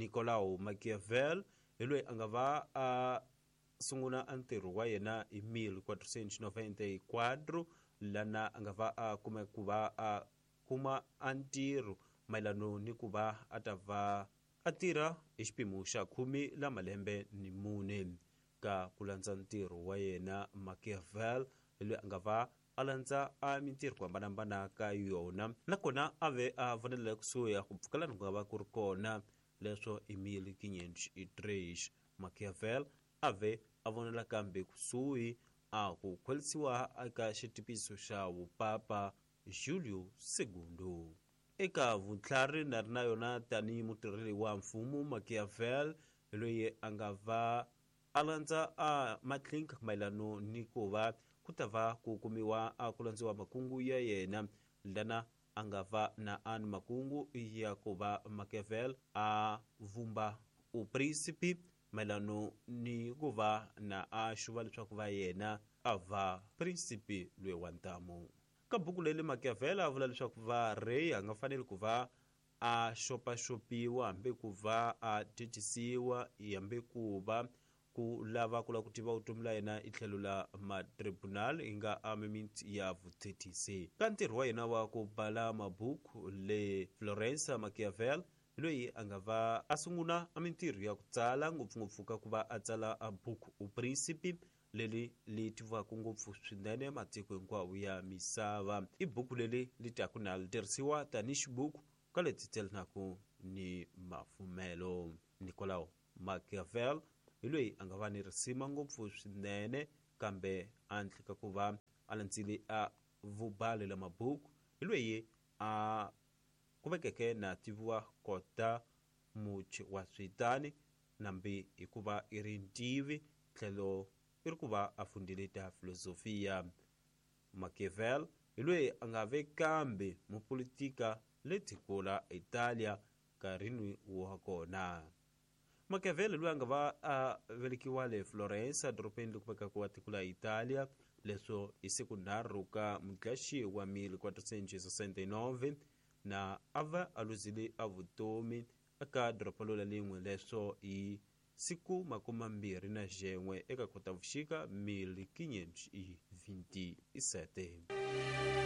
Nicolau Machiavel hi loyi a nga va a sungula a ntirho wa yena hi 1494, lana a nga va a kume ku va a kuma a ntirho mayelano ni ku va a ta va a tirha hi xipimo xa 14 la malembe ni 4. Ka ku landza ntirho wa yena, Machiavel hi loyi a nga va a landza a mintirho ku hambanahambana ka yona, nakona a ve a vonela kusuhi ku pfukelana ku nga va ku ri kona. Leswo hi 1503 Machiavel a ve a vonela kambe kusuhi a ku khwelisiwa eka xitipiso xa vupapa Julio II. Eka vutlhari na ri na yona tanihi mutirheli wa mfumo, Machiavel loyi a nga va a landza a matlinka mayelano ni ku va ku ta va ku kumiwa a ku landziwa makungu ya yena, lana a nga va na an makungu ya ku va Machiavel a vumba uprinsipi mayelano ni ku va na a xuva leswaku va yena a va prinsipi loyi wa ntamu. Ka buku leyi Machiavel a vula leswaku va rey a nga faneli ku va a xopaxopiwa, hambi ku va a thethisiwa, hambi ku va ku lava ku lava ku tiva vutomi la yena i tlhelo la matribunal yi nga a mimiti ya vuthethisi. Ka ntirho wa yena wa ku bala mabuku le Florence, Machiavel loyi a nga va a sungula a mintirho ya ku tsala, ngopfungopfu ka ku va a tsala a buku U Principe, leri li tiviwaka ngopfu swinene matiko hinkwawo ya misava. I buku leri li taku na li tirhisiwa tanihi xibuku ka leti tselanaka ni mafumelo. Nicolau Machiavel hi loyi a nga va ni risima ngopfu swinene, kambe handle ka ku va a landzile a vubali la mabuku, hi loyi a kuvekeke na tiviwa kota muchi wa switani, nambi hikuva i ri ntivi tlhelo i ri ku va a fundile ta filosofia. Machiavel hi loyi a nga ve kambe mupolitika le tiko la Italia nkarhini wa kona. Machiavelli loyi a nga va a velekiwa le Florence, edorobeni leri kumekaka wa tiko la Italia, leswo hi siku 3 ka Mudlaxi wa 1469, na a va a luzile a vutomi eka doroba lola lin'we, leswo hi siku 21 eka Khotavuxika 1527.